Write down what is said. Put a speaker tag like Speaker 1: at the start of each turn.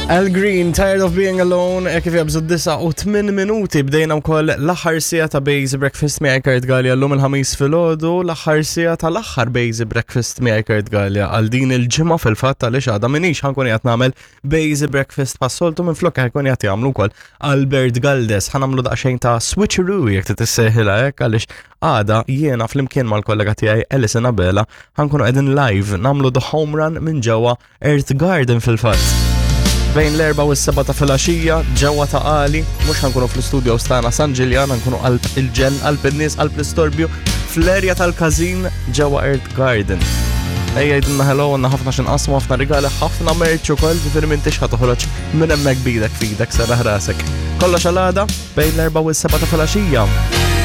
Speaker 1: Al Green, Tired of Being Alone, e kif jabżu 8 minuti bdejna wkoll l-aħħar sija ta' Base Breakfast miegħi Kurt Gallia llum il-ħamis filgħodu, l-aħħar sija tal-aħħar Base Breakfast miegħi Kurt Gallia għal din il-ġimgħa fil-fatt għaliex għadha minix ħankun qiegħed nagħmel Base Breakfast pas-soltu minflok ħajkun qiegħed jagħmlu wkoll Albert Galdes. Ħa nagħmlu daqsxejn ta' switcheroo jekk titissejħilha hekk għaliex għada jiena flimkien mal-kollega tiegħi Alison Abela ħankunu qegħdin live nagħmlu the home run minn ġewwa Earth Garden fil-fatt. Bejn l-erba u s-seba ta' filgħaxija ġewwa ta' Qali, mhux ħankunu fl-istudio stana San Ġiljan, ħankunu qalb il-ġen, qalb in-nies, qalb l-istorbju, fl-erja tal-każin ġewwa Earth Garden. Ejja jidinna hello, għanna ħafna xinqasmu, ħafna rigali, ħafna merċ ukoll, ġifieri m'intix ħa toħroġ minn hemmhekk bidek fidek serraħ rasek. Kollox għal għada bejn l-erba u s-seba ta' filgħaxija.